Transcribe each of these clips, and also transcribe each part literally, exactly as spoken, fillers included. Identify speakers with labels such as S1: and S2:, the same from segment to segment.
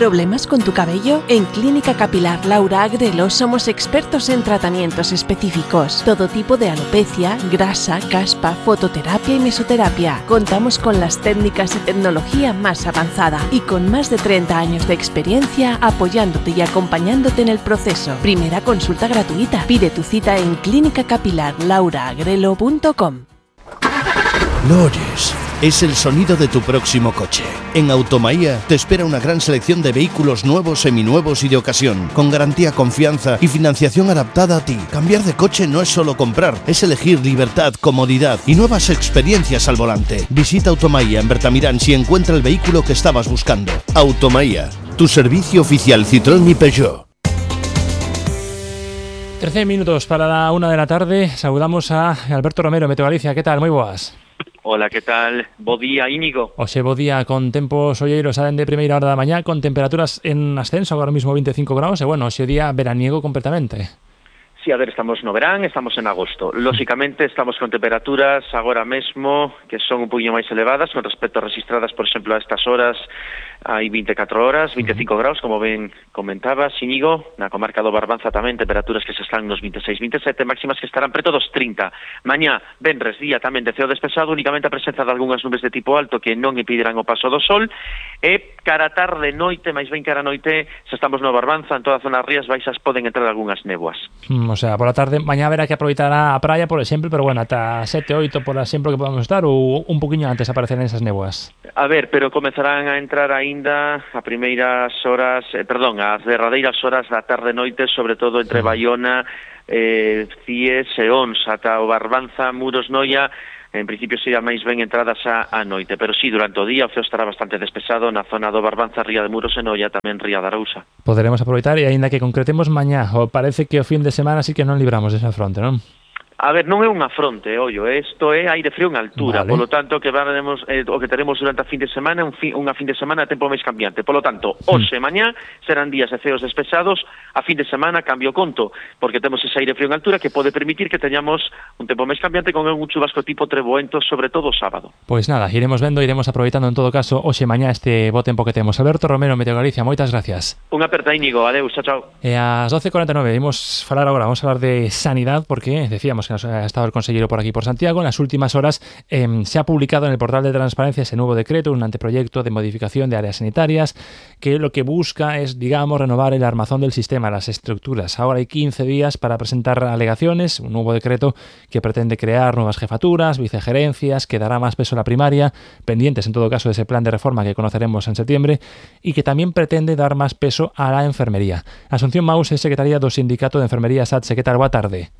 S1: ¿Problemas con tu cabello? En Clínica Capilar Laura Agrelo somos expertos en tratamientos específicos. Todo tipo de alopecia, grasa, caspa, fototerapia y mesoterapia. Contamos con las técnicas y tecnología más avanzada y con más de treinta años de experiencia apoyándote y acompañándote en el proceso. Primera consulta gratuita. Pide tu cita en clínica capilar laura agrelo punto com.
S2: ¿Lo oyes? Es el sonido de tu próximo coche. En Automaía te espera una gran selección de vehículos nuevos, seminuevos y de ocasión, con garantía, confianza y financiación adaptada a ti. Cambiar de coche no es solo comprar, es elegir libertad, comodidad y nuevas experiencias al volante. Visita Automaía en Bertamirán si encuentra el vehículo que estabas buscando. Automaía, tu servicio oficial Citroën y Peugeot.
S3: trece minutos para la una de la tarde. Saludamos a Alberto Romero, Meteo Galicia. ¿Qué tal? Moi boas.
S4: Hola, que tal? Bo día, Íñigo.
S3: Oxe, bo día, con tempos olleiros salen de primeira hora da mañá, con temperaturas en ascenso, agora mismo veinticinco grados, e bueno, oxe día veraniego completamente.
S4: Sí, a ver, estamos no verán, estamos en agosto. Lógicamente, estamos con temperaturas agora mesmo que son un poquinho máis elevadas con respecto a registradas, por exemplo, a estas horas hai veinticuatro horas, veinticinco uh-huh. graus, como ben comentabas, Íñigo, na comarca do Barbanza tamén, temperaturas que se están nos veintiséis, veintisiete, máximas que estarán preto dos trinta. Mañá, venres, día tamén de ceo despexado, únicamente a presenza de algunhas nubes de tipo alto que non impedirán o paso do sol, e cara tarde, noite, máis ben cara noite, se estamos no Barbanza, en toda a zona rías baixas poden entrar algunhas néboas.
S3: Mm, o sea, por la tarde, mañá haberá que aproveitar a praia, por exemplo, pero bueno, ata sete, oito, por exemplo, que podamos estar, ou un poquinho antes aparecerán esas néboas?
S4: A ver, pero comezarán a entrar aí a primeiras horas, eh, perdón, as derradeiras horas da tarde noite, sobre todo entre Baiona, eh, Cies e Ons, ata o Barbanza, Muros, Noia, en principio será máis ben entradas a, a noite, pero sí, durante o día o ceo estará bastante despexado na zona do Barbanza, Ría de Muros e Noia, tamén Ría de Arousa.
S3: Poderemos aproveitar e aínda que concretemos mañá, o parece que o fin de semana sí que non libramos desa fronte, non?
S4: A ver, non é unha fronte, ollo, isto é aire frío en altura, vale. Polo tanto, que varemos, eh, o que teremos durante a fin de semana, un fin, unha fin de semana a tempo máis cambiante. Polo tanto, hoxe e mañá serán días de ceos despechados, a fin de semana cambio conto, porque temos ese aire frío en altura que pode permitir que teñamos un tempo máis cambiante con un chubasco tipo treboento, sobre todo o sábado.
S3: Pois nada, iremos vendo, iremos aproveitando en todo caso hoxe e mañá este bo tempo que temos. Alberto Romero, Meteo Galicia, moitas gracias.
S4: Unha aperta, Íñigo, adeus, chao, chao.
S3: E ás doce e cuarenta e nove, imos falar agora, vamos a falar de sanidade, porque decíamos que nos ha estado el consejero por aquí por Santiago. En las últimas horas eh, se ha publicado en el portal de transparencia ese nuevo decreto, un anteproyecto de modificación de áreas sanitarias que lo que busca es, digamos, renovar el armazón del sistema, las estructuras. Ahora hay quince días para presentar alegaciones, un nuevo decreto que pretende crear nuevas jefaturas, vicegerencias, que dará más peso a la primaria, pendientes en todo caso de ese plan de reforma que conoceremos en septiembre, y que también pretende dar más peso a la enfermería. Asunción Maús es secretaria do Sindicato de Enfermería SATSE. ¿Qué tal? Boa tarde.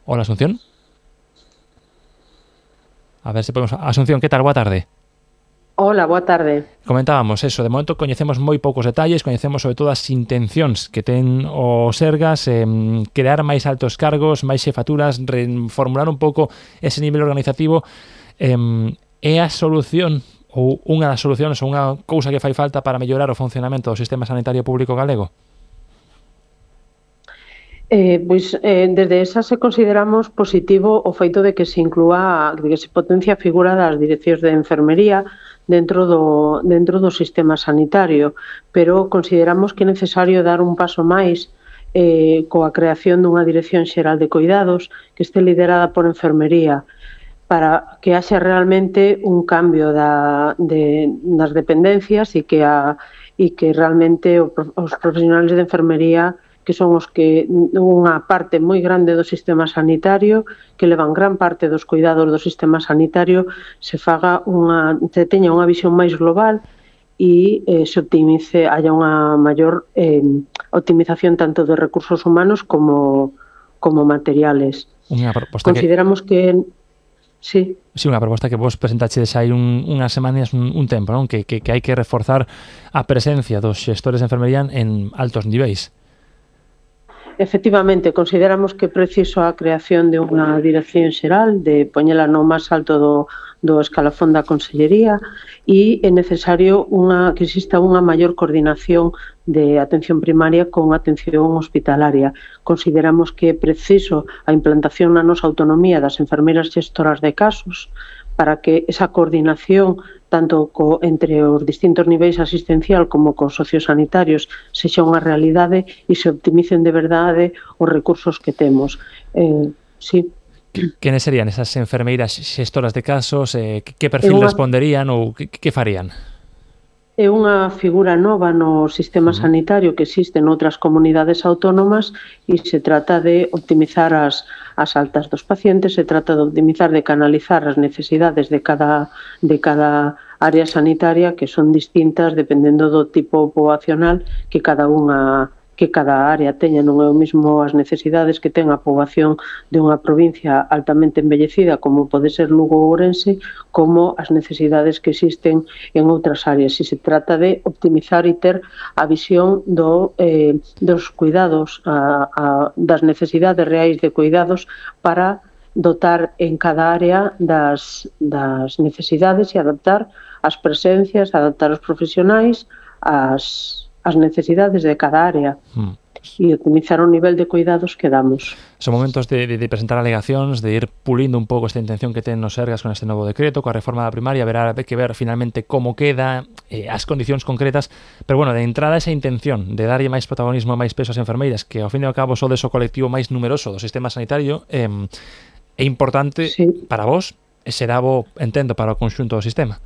S3: Hola, Asunción. A ver si podemos... Asunción, ¿qué tal? Boa tarde.
S5: Hola, boa tarde.
S3: Comentábamos eso, de momento coñecemos moi poucos detalles, coñecemos sobre todo as intencións que ten o Sergas, eh, crear máis altos cargos, máis xefaturas, reformular un pouco ese nivel organizativo. Eh, é a solución ou unha das solucións ou unha cousa que fai falta para mellorar o funcionamento do sistema sanitario público galego?
S5: Eh, pois, eh, desde esa se consideramos positivo o feito de que se inclúa, de que se potencia a figura das direccións de enfermería dentro do, dentro do sistema sanitario, pero consideramos que é necesario dar un paso máis eh, coa creación dunha dirección xeral de cuidados que este liderada por enfermería, para que haxe realmente un cambio da, de, das dependencias e que, a, e que realmente os profesionales de enfermería, que son os que unha parte moi grande do sistema sanitario, que levan gran parte dos cuidados do sistema sanitario, se faga unha, se teña unha visión máis global e eh, se optimice, haya unha maior eh, optimización tanto de recursos humanos como, como materiales.
S3: Unha proposta
S5: Consideramos que... que sí.
S3: Sí, unha proposta que vos presentaxedes hai un, unhas semanas, un, un tempo, non? Que, que, que hai que reforzar a presencia dos xestores de enfermería en altos niveis.
S5: Efectivamente, consideramos que é preciso a creación de unha dirección xeral, de poñela no máis alto do, do escalafón da Consellería, e é necesario unha, que exista unha maior coordinación de atención primaria con atención hospitalaria. Consideramos que é preciso a implantación na nosa autonomía das enfermeiras gestoras de casos para que esa coordinación tanto co, entre os distintos niveis asistencial como cos sociosanitarios sexa unha realidade e se optimicen de verdade os recursos que temos. Eh, sí.
S3: Quenes serían esas enfermeiras xestoras de casos? Eh, que perfil unha... responderían ou que, que farían?
S5: É unha figura nova no sistema sanitario que existe noutras comunidades autónomas e se trata de optimizar as, as altas dos pacientes, se trata de optimizar, de canalizar as necesidades de cada, de cada área sanitaria que son distintas dependendo do tipo poboacional que cada unha que cada área teña. Non é o mismo as necesidades que ten a poboación de unha provincia altamente envellecida como pode ser Lugo ou Ourense, como as necesidades que existen en outras áreas. E se trata de optimizar e ter a visión do, eh, dos cuidados, a, a, das necesidades reais de cuidados para dotar en cada área das, das necesidades e adaptar as presencias, adaptar os profesionais, as as necesidades de cada área mm. e optimizar o nivel de cuidados que damos.
S3: Son momentos de, de, de presentar alegacións, de ir pulindo un pouco esta intención que ten nos Sergas con este novo decreto, coa reforma da primaria, verá que ver finalmente como queda, eh, as condicións concretas, pero bueno, de entrada esa intención de darlle máis protagonismo e máis peso ás enfermeiras, que ao fin e ao cabo sodes o colectivo máis numeroso do sistema sanitario, eh, é importante sí. para vos, e será bo, entendo, para o conxunto do sistema.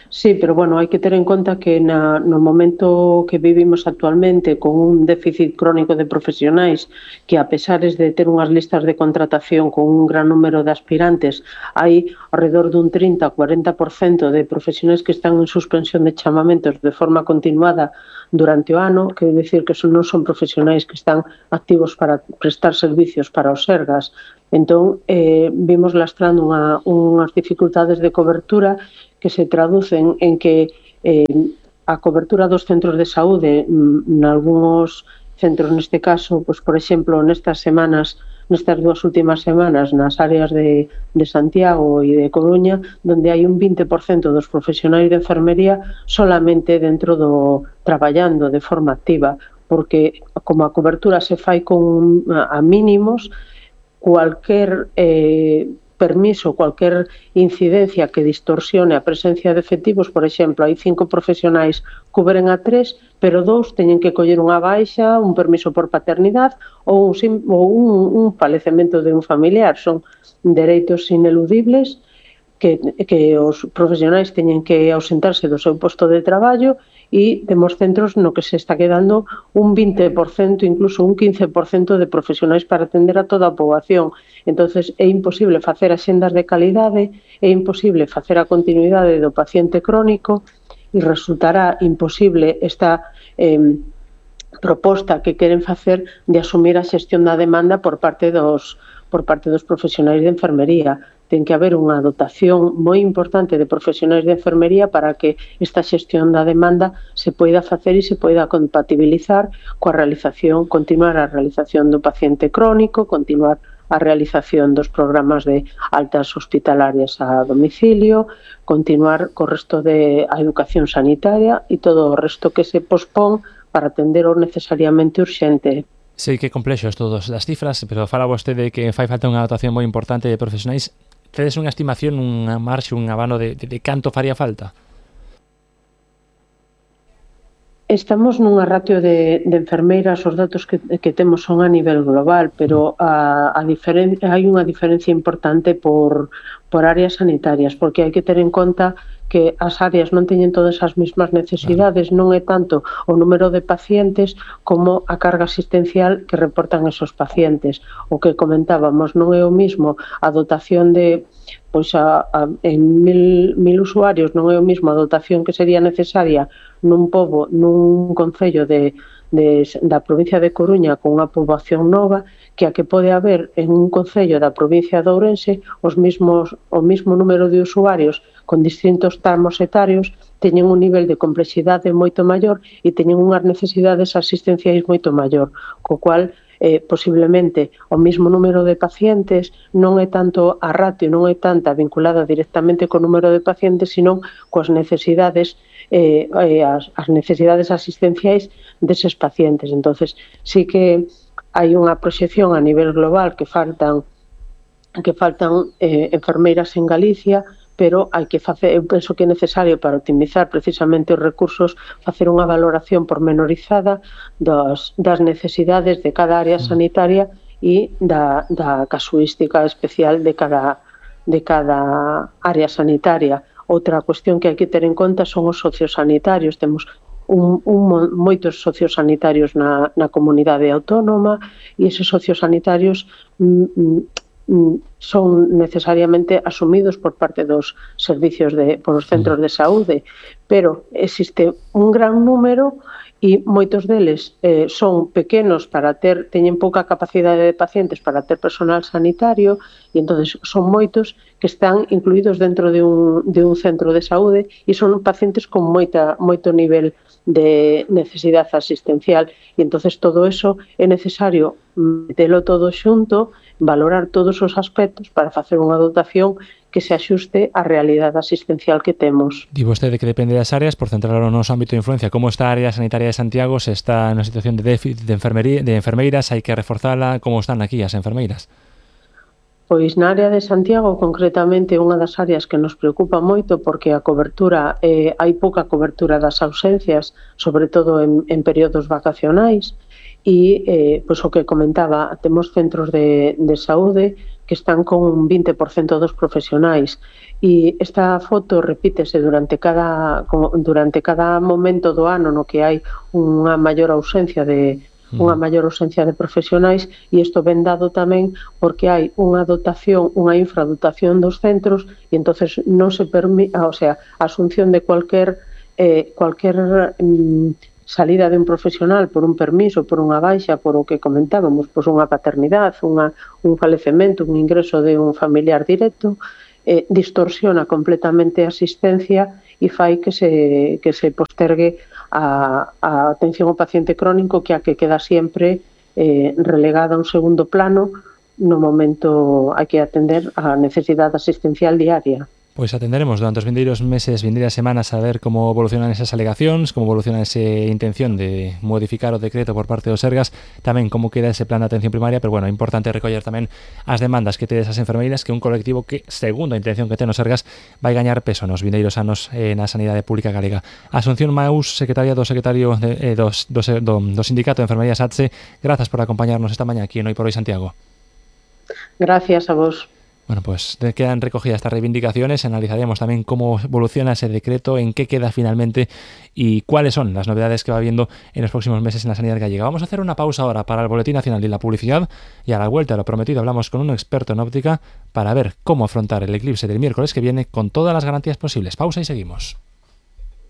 S5: Sí, pero bueno, hai que ter en conta que na, no momento que vivimos actualmente con un déficit crónico de profesionais que a pesares de ter unhas listas de contratación con un gran número de aspirantes, hai alrededor dun trinta a cuarenta por cento de profesionais que están en suspensión de chamamentos de forma continuada durante o ano, que decir que son, non son profesionais que están activos para prestar servicios para os Sergas. Entón, eh, vimos lastrando unha, unhas dificultades de cobertura que se traducen en que eh, a cobertura dos centros de saúde en algúns centros, neste caso, pues, por exemplo, nestas semanas, nestas dúas últimas semanas, nas áreas de, de Santiago e de Coruña, donde hai un vinte por cento dos profesionais de enfermería solamente dentro do traballando de forma activa, porque como a cobertura se fai con a, a mínimos, cualquier eh, permiso, cualquier incidencia que distorsione a presencia de efectivos, por exemplo, hai cinco profesionais cubren a tres, pero dous teñen que coller unha baixa, un permiso por paternidade ou un, ou un, un falecemento de un familiar. Son dereitos ineludibles que, que os profesionais teñen que ausentarse do seu posto de traballo e temos centros no que se está quedando un vinte por cento, incluso un quince por cento de profesionais para atender a toda a poboación. Entonces é imposible facer axendas de calidade, é imposible facer a continuidade do paciente crónico e resultará imposible esta eh, proposta que queren facer de asumir a xestión da demanda por parte dos, por parte dos profesionais de enfermería. Ten que haber unha dotación moi importante de profesionais de enfermería para que esta xestión da demanda se poida facer e se poida compatibilizar coa realización, continuar a realización do paciente crónico, continuar a realización dos programas de altas hospitalarias a domicilio, continuar co resto de a educación sanitaria e todo o resto que se pospón para atender o necesariamente urxente.
S3: Sei que é complexo isto das cifras, pero fala vostede que fai falta unha dotación moi importante de profesionais. Tedes unha estimación, unha marxe, un abano de, de, de canto faría falta?
S5: Estamos nunha ratio de, de enfermeiras, os datos que, que temos son a nivel global, pero a, a diferen, hai unha diferencia importante por, por áreas sanitarias, porque hai que ter en conta que as áreas non teñen todas as mesmas necesidades, non é tanto o número de pacientes como a carga asistencial que reportan esos pacientes. O que comentábamos, non é o mismo a dotación de pois a, a, en mil, mil usuarios, non é o mismo a dotación que sería necesaria nun pobo, nun concello de, de, da provincia de Coruña con unha poboación nova que a que pode haber en un concello da provincia de Ourense os mismos, o mismo número de usuarios con distintos tramos etarios teñen un nivel de complexidade moito maior e teñen unhas necesidades asistenciais moito maior, co cual eh, posiblemente o mismo número de pacientes non é tanto a ratio, non é tanta vinculada directamente co número de pacientes, sino coas necesidades eh, as, as necesidades asistenciais deses pacientes. Entonces, sí que hai unha proxección a nivel global que faltan que faltan eh, enfermeiras en Galicia, pero hai que facer, eu penso que é necesario para optimizar precisamente os recursos, facer unha valoración pormenorizada das, das necesidades de cada área sanitaria e da, da casuística especial de cada, de cada área sanitaria. Outra cuestión que hai que ter en conta son os sociosanitarios. Temos un, un, moitos sociosanitarios na, na comunidade autónoma e eses sociosanitarios mm, son necesariamente asumidos por parte dos servicios de, por os centros de saúde, pero existe un gran número e moitos deles eh, son pequenos para ter, teñen pouca capacidade de pacientes para ter personal sanitario e entonces son moitos que están incluídos dentro de un, de un centro de saúde e son pacientes con moita, moito nivel de necesidade asistencial e entonces todo eso é necesario metelo todo xunto, valorar todos os aspectos para facer unha dotación que se axuste á realidade asistencial que temos.
S3: Di vostede que depende das áreas, por centrar o noso ámbito de influencia, como está a área sanitaria de Santiago, se está na situación de déficit de, enfermería, de enfermeiras, hai que reforzala, como están aquí as enfermeiras?
S5: Pois na área de Santiago, concretamente, unha das áreas que nos preocupa moito porque a cobertura, eh, hai pouca cobertura das ausencias, sobre todo en, en períodos vacacionais, e eh, pois o que comentaba, temos centros de, de saúde que están con un vinte por cento dos profesionais e esta foto repítese durante cada, durante cada momento do ano no que hai unha maior ausencia de unha maior ausencia de profesionais e isto ven dado tamén porque hai unha dotación, unha infradotación dos centros e entonces non se permite, o sea, a asunción de cualquier eh, cualquier mm, salida de un profesional por un permiso, por unha baixa, por o que comentábamos, pois unha paternidade, unha, un falecemento, un ingreso de un familiar directo, eh, distorsiona completamente a asistencia e fai que se, que se postergue a, a atención ao paciente crónico que a que queda sempre eh, relegada a un segundo plano no momento hai que atender a necesidade asistencial diaria.
S3: Pois atenderemos durante os vindeiros meses, vindeiras semanas a ver como evolucionan esas alegacións, como evoluciona esa intención de modificar o decreto por parte do Sergas, tamén como queda ese plan de atención primaria, pero bueno, é importante recoller tamén as demandas que tedes as enfermeiras, que é un colectivo que, segundo a intención que ten o Sergas, vai gañar peso nos vindeiros anos eh, na sanidade pública galega. Asunción Maús, secretaria do secretario de, eh, dos, do, do, do Sindicato de Enfermería SATSE, grazas por acompañarnos esta mañá aquí en Hoy por Hoy Santiago.
S5: Gracias a vos.
S3: Bueno, pues quedan recogidas estas reivindicaciones, analizaremos también cómo evoluciona ese decreto, en qué queda finalmente y cuáles son las novedades que va habiendo en los próximos meses en la sanidad gallega. Vamos a hacer una pausa ahora para el Boletín Nacional y la publicidad y a la vuelta a lo prometido hablamos con un experto en óptica para ver cómo afrontar el eclipse del miércoles que viene con todas las garantías posibles. Pausa y seguimos.